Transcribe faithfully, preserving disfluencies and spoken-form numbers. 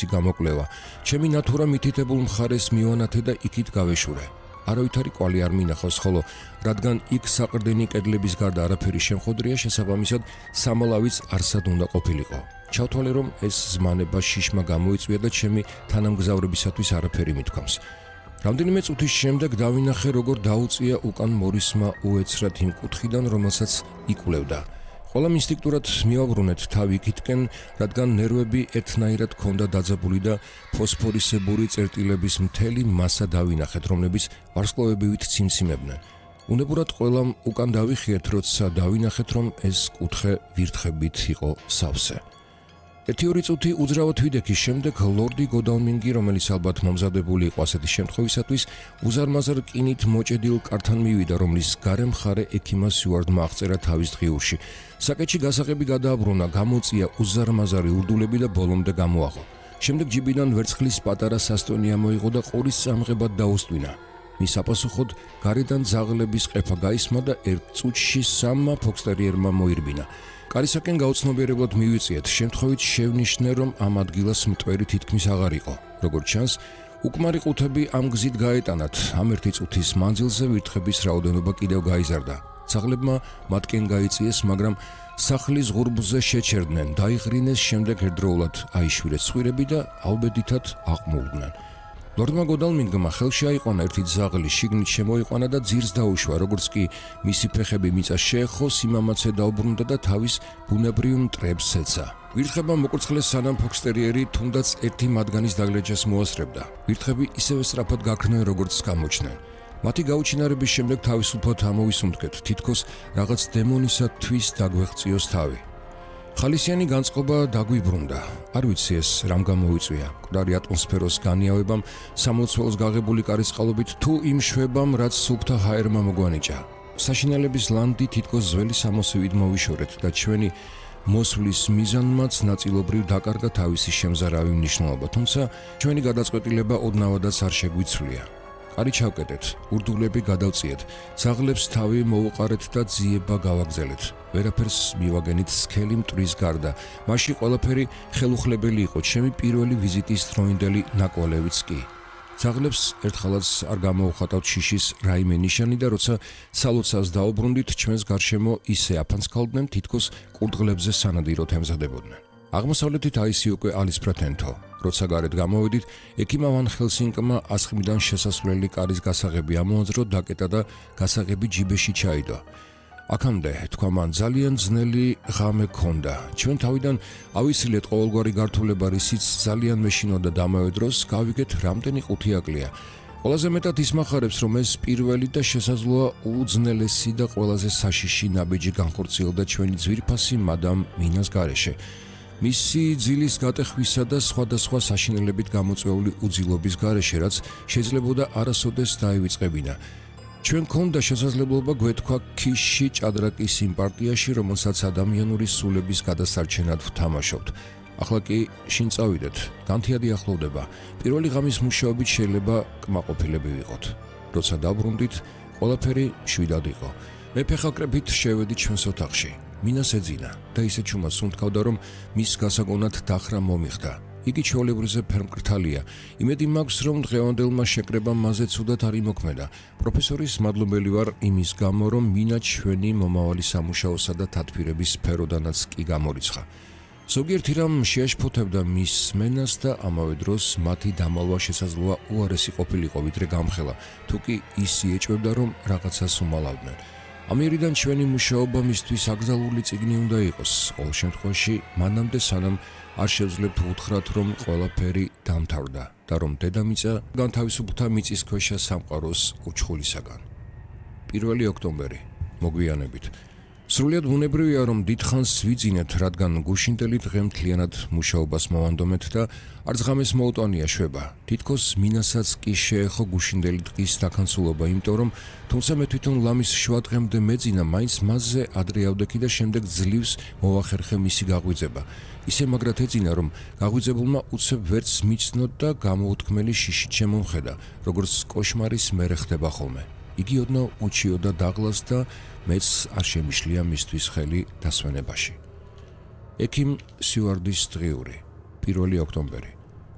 გამოკვლევა. ჩემი ნათურა მითითებულ მხარეს მივანათე და იქით გავეშურე. არავითარი კვალი არ მინახავს, ხოლო რადგან იქ საყრდენი კედლების გარდა არაფერი შემხოდრია, შესაბამისად სამალავიც არსად უნდა ყოფილიყო. ჩავთვალე, რომ ეს ზმანება შიშმა გამოიწვია და ჩემი თანამგზავრებისათვის არაფერი მithქვამს. რამდენიმე წუთის შემდეგ დავინახე, როგორ დაუწია უკან მორისმა უეცრად იმ კუთხიდან, რომელსაც იკვლევდა. ყველამ ინსტინქტურად მივაბრუნეთ თავი იქითკენ, რადგან ნერვები ერთნაირად ჰქონდა დაძაბული და ფოსფორისებური წერტილების მთელი მასა დავინახეთ, რომლებიც ვარსკვლავებივით ციმციმებდნენ. უნებურად ყველამ უკან დავიხიეთ, როცა დავინახეთ, რომ ეს კუთხე ვირთხებით იყო სავსე. ერთი ორი წუთი უძრავად ვიდექის შემდეგ ლორდი გოდალმინგი, რომელიც ალბათ მომზადებული იყო ასეთი შემთხვევისათვის, უზარმაზარ რკინით მოჭედილ კართან მივიდა, რომლის გარე მხარე ექიმას სიუარდმა აღწერა თავის დღიურში. საკეთში გასაღები გადააბრუნა, გამოწია უზარმაზარი ურდულები და ბოლომდე გამოაღო. შემდეგ ჯიბიდან ვერცხლის პატარა სასტონი ამოიღო და ყურის წამღებად დაუსტვინა. მის საპასუხოდ გარედან ძაღლების ყეფა გაისმა და ერთ წუთში სამმა ფოქსტერიერმა მოირბინა. კარისაკენ გაუცნობიერებლად მივიწიეთ, შემთხვევით შევნიშნე, რომ ამ ადგილას მტვერი თითქმის აღარ იყო. როგორც ჩანს, უკმარი ყუთები ამ გზით გაეტანათ. ამ ერთი წუთის მანძილზე ვირთხების რაოდენობა კიდევ გაიზარდა. ძაღლებმა მათკენ გაიწიეს, მაგრამ სახლის ღურბზე შეჩერდნენ, დაიღრინეს, შემდეგ ერთდროულად აიშვირეს ცხვირები და აუბედითად აყმულდნენ. ლორდმა გოდალმინგმა ხელში აიყვანა ერთი ძაღლი, შიგნით შემოიყვანა და ძირს დაუშვა, როგორც კი მისი ფეხები მიწას შეეხო, სიმამაცე დაუბრუნდა და თავის ბუნებრივ მტრებს ეცა. ვირთხებმა მოკურცხლეს, სანამ ფოქსტერიერი თუნდაც ერთი მათგანის დაგლეჯას მოასწრებდა. ვირთხები ისევე სწრაფად გაქრნენ, როგორც გამოჩნდნენ. მათი გაუჩინარების შემდეგ თავისუფლად ამოვისუნთქეთ, თითქოს რაღაც დემონისათვის დაგვეღწიოს თავი. ხალისიანი განწყობა დაგვიბრუნდა. არ ვიცი ეს რამ გამოიწვია. მკვდარი ატმოსფეროს განიავებამ, სამლოცველოს გაღებული კარისყალობით თუ იმ შვებამ, რაც სუფთა ჰაერმა მოგვანიჭა. საშინელების ლანდი თითქოს ძველი სამოსივით მოვიშორეთ და ჩვენი მოსვლის მიზანმაც ნაწილობრივ დაკარგა თავისი შემზარავი მნიშვნელობა, თუმცა ჩვენი გადაწყვეტილება ოდნავადაც არ შეგვიცვლია. კარი ჩავკეტეთ, ურდულები გადავწიეთ, ძაღლებს თავი მოვუყარეთ და ძიება გავაგზელეთ. ვერაფერს მივაგენით სქელი მტვრის გარდა. მაშინ ყველაფერი ხელუხლებელი იყო, ჩემი პირველი ვიზიტის დროინდელი ნაკვალევიც კი. ძაღლებს ერთხალაც არ გამოუხატავთ შიშის რაიმე ნიშანი და როცა სალოცავს დაუბრუნდით, ჩვენს გარშემო ისე აფანცქალდნენ, თითქოს კურდღლებზე სანადიროდ ემზადებოდნენ. აღმოსავლეთით აისი უკვე ალისფრათენთო. როცა გარეთ გამოვედით, ექიმა ვან ჰელსინკმა ასხმიდან შესასვლელი კარის გასაღები ამოაძრო, დაკეტა და გასაღები ჯიბეში ჩაიდო. აქამდე, თქვა მან, ძალიან ძნელი ღამე ჰქონდა. ჩვენ თავიდან ავისილეთ ყოველგვარი გართულება, რისიც ძალიან მეშინოდა და ამავე დროს გავიგეთ, რამდენი ყუთი აკლია. ყველაზე მეტად ისმახარებს, რომ ეს პირველი და შესაძლოა უძნელესი და ყველაზე საშიში ნაბიჯი განხორციელდა ჩვენი ძვირფასი მადამ მინას გარეშე. მისი ძილის გატეხვისა და სხვადასხვა საშინელებით გამოწვეული უძილობის გარეშე, რაც შეიძლებოდა არასოდეს დაივიწყებინა. ჩვენ გქონდა შესაძლებლობა გვეთქვა ქიში ჭადრაკის იმ პარტიაში, რომელსაც ადამიანური სულების გადასარჩენად ვთამაშობთ. ახლა კი შინ წავიდეთ, განთიადი ახლოვდება. პირველი ღამის მუშაობით შეიძლება კმაყოფილები ვიყოთ. როცა დაბრუნდით, ყველაფერი მშვიდად იყო. მე ფეხაკრებით შევედი ჩვენს ოთახში. მინას ეძინა და ისე ჩუმად სუნთქავდა, რომ მის გასაგონად დახრა მომიხდა. იგი ჩვეულებრივზე ფერმკრთალია. იმედი მაქვს, რომ დღევანდელმა შეკრებამ მასზე ცუდად არ იმოქმედა. პროფესორის მადლობელი ვარ იმის გამო, რომ მინა ჩვენი მომავალი სამუშაოსა და თათბირების სფეროდანაც კი გამორიცხა. ზოგიერთი რამ შეაშფოთებდა მის სმენას და ამავე დროს მათი დამალვა შესაძლოა უარესი ყოფილიყო, ვიდრე გამხელა, თუკი ისი ეჭვებდა, რომ რაღაცას უმალავდნენ. ამიერიდან ჩვენი მუშაობა მისთვის აკრძალული წიგნი უნდა იყოს. ყოველ შემთხვევაში, მანამდე სანამ არ შევძლებთ უთხრათ, რომ ყველაფერი დამთავრდა და რომ დედამიწა განთავისუფლდა მიწისქვეშა სამყაროს უჩხულისაგან. პირველი ოქტომბერი, მოგვიანებით. სრულიად ბუნებრივია, რომ დიდხანს ვიძინეთ, რადგან გუშინდელი დღე მთლიანად მუშაობას მოვანდომეთ და არც ღამეს მოუტანია შვება. თითქოს მინასაც კი შეეხო გუშინდელი დღის დაქანცულობა, იმიტომ რომ თუმცა მე თვითონ ლამის შუა დღემდე მეძინა, მაინც მასზე ადრე ავდექი და შემდეგ ძლივს მოვახერხე მისი გაღვიძება. ისე მაგრად ეძინა, რომ გაღვიძებულმა უცებ ვერც მიცნოდ და გამოუთქმელი შიშით შემომხედა, როგორც კოშმარის მერე ხდება ხოლმე. იგი ოდნავ უჩიოდა დაღლას და მეც არ შემიშლია მისთვის ხელი დასვენებაში. ექიმ სიუარდის დღიური, პირველი ოქტომბერი.